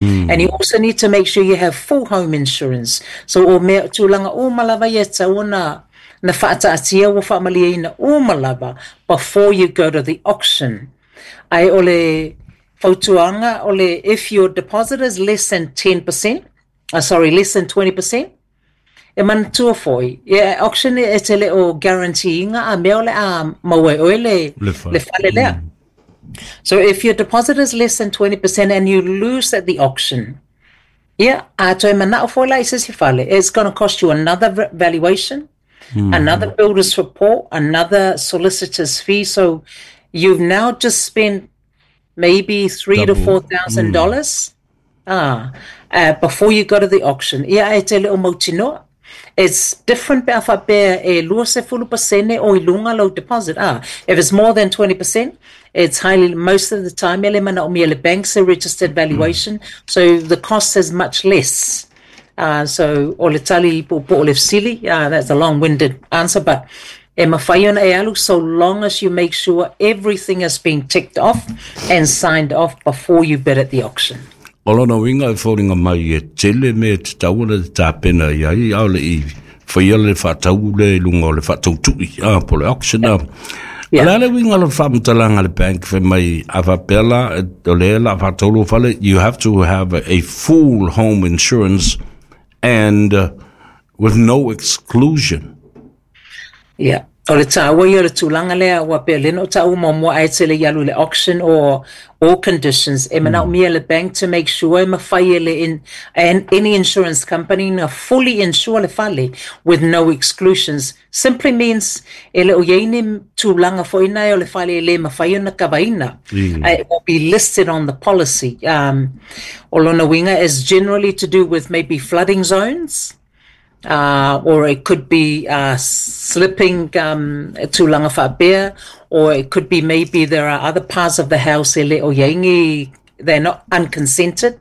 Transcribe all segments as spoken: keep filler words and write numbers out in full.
Mm. And you also need to make sure you have full home insurance. So o mea tulaga uma lava ia e tatau ona na faataatia ua faamalieina uma lava before you go to the auction. Ae o le fautuaga o le if your deposit is less than ten percent, uh, sorry, less than twenty percent, e manatua foi, e auction e te le o guarantee inga a mea o le a maua e oe le, Le fale. le fale lea. Mm. So if your deposit is less than twenty percent and you lose at the auction, yeah, a toe mana'o foi la i se isi fale, it's gonna cost you another v-, valuation, Mm. another builder's report, another solicitor's fee. So you've now just spent maybe three to Double. four thousand dollars ah, uh, before you go to the auction. Ia e te le o mautinoa. It's different pe a faapea e luasefulu pasene o i luga lau deposit. Ah, if it's more than twenty percent, it's highly, most of the time, ele manaomia le bank's a registered valuation, Mm. so the cost is much less. Uh, so, o le tali po po o le fesili, uh, that's a long-winded answer, but e mawhai ona e alu, so long as you make sure everything has been ticked off and signed off before you bid at the auction. O lona uiga e foliga mai e tele mea e tatau ona te tapena i ai, a o le i faia le faatau le i luga o le faatautui, a po o le auction a. Yeah. O le a le uiga o le faamatalaga a le bank fai mai a faapea la o lea o le a faatau lou fale, you have to have a full home insurance and uh, with no exclusion. Yeah. O le tāua ia o le tulaga lea, ua pei o lea na ou taua muamua ae tele i alu i le auction or all conditions, e manaomia le bank to make sure e mafai e le in, and any insurance company na fully insure le fale with no exclusions. Simply means e le o iai ni tulaga foi na e o le fale e le mafai ona kavaina. Mm. Uh, it will be listed on the policy. Um, o lona uiga is generally to do with maybe flooding zones, uh, or it could be, uh, slipping, um, tulaga faapea, or it could be maybe there are other parts of the house e le o iai ni, they're not unconsented.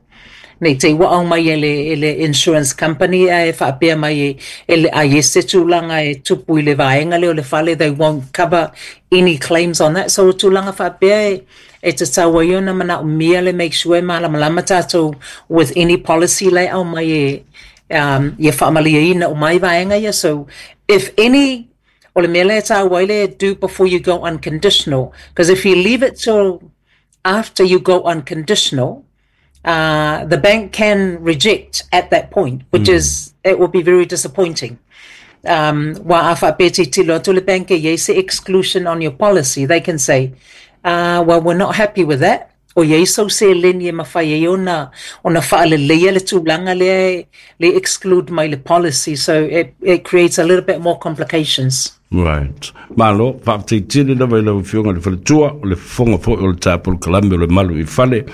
Nei te ua au mai e le, e le insurance company e faapea mai e, e le a i se tulaga e tupu i le vaega lea o le fale, they won't cover any claims on that. So tulaga faapea e, e tatau ai ona manaomia le make sure e malamalama tātou with any policy le au mai e, um, ia faamalieina o mai vaega ia. So if any, o le mea lea e tāua ai le do before you go unconditional, 'cause if you leave it till after you go unconditional, uh, the bank can reject at that point, which Mm. is, it will be very disappointing. Um, wa a faapea tilotilo atu le bank e iai se exclusion on your policy, they can say, uh, well, we're not happy with that. O iai sou seleni e mafai ai ona, ona faaleleia le tulaga lea e le exclude mai le policy. So it, it creates a little bit more complications. Right. Malo, faafetai tele lava i lau afioga i le faletua, o le fofoga foi o le tapolokalame o le Malu i Fale,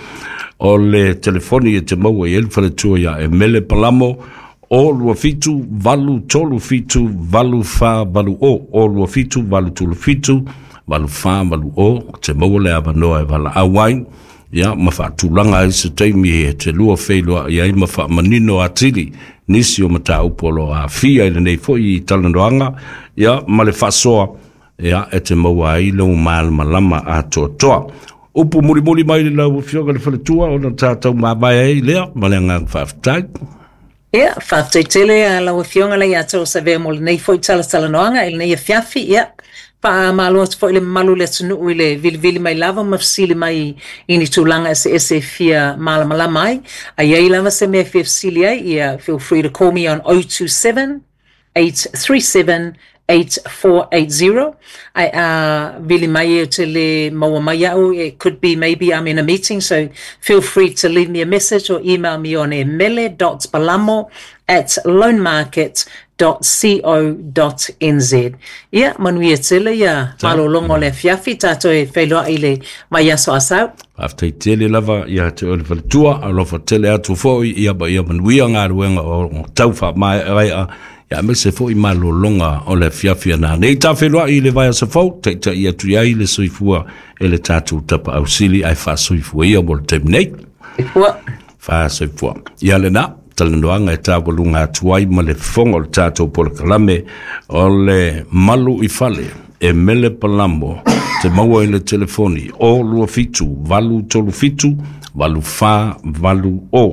o le telefoni e te maua i ai le faletua ia Emele Palamo, o lua fitu, valu tolu fitu, valu fa valu o, o lua fitu, valu tolu fitu, valu fa valu o, te maua le avanoa e valaau ai, ia, ma faatulaga ai se taimi e te lua feiloai ai ma faamanino atili nisi o mataupu o lo o aafia i lenei foi talanoaga, ia, ma le faasoa, ia, e te maua ai lou malamalama atoatoa. Upu mulimuli mai le lau afioga i le faletua ona tatou mavae ai lea ma le agaga faafetai. Ia, faafetai tele a lau afioga le ia te o Savea mo lenei foi talatalanoaga i lenei afiafi. Ia, faamalo atu foi i le mamalu o le atunuu i le vilivili mai lava ma fesili mai i ni tulaga eseese e fia malamalama ai. A iai lava se mea e fia fesili ai, ia, feel free to call me on oh two seven, eight three seven, eight four eight zero. Ae a vili mai e te le maua mai au, it could be maybe I'm in a meeting, so feel free to leave me a message or email me on emele dot palamo at loanmarket dot co dot n z. Ia, manuia tele ia malologa o le afiafi, tātou e feiloai i le vaiaso a sau. Faafetai tele lava ia te oe le faletua, alofa tele atu foi ia ma ia manuia galuega o tau faamaeaea, ia aemaise foi malologa o le afiafi ana nei tā feiloai i le vaiaso fou, taita'i atu i ai le soifua e le tatou tapaau sili ae faasoifua ia mo le taimi nei. Soifua. Faasoifua. Ia lenā talanoaga e taualuga atu ai ma le fofoga o le tatou polokalame o le Malu i Fale, Emele Palamo, te maua i le telefoni o lua fitu, valu tolu fitu, Valu fa valu o.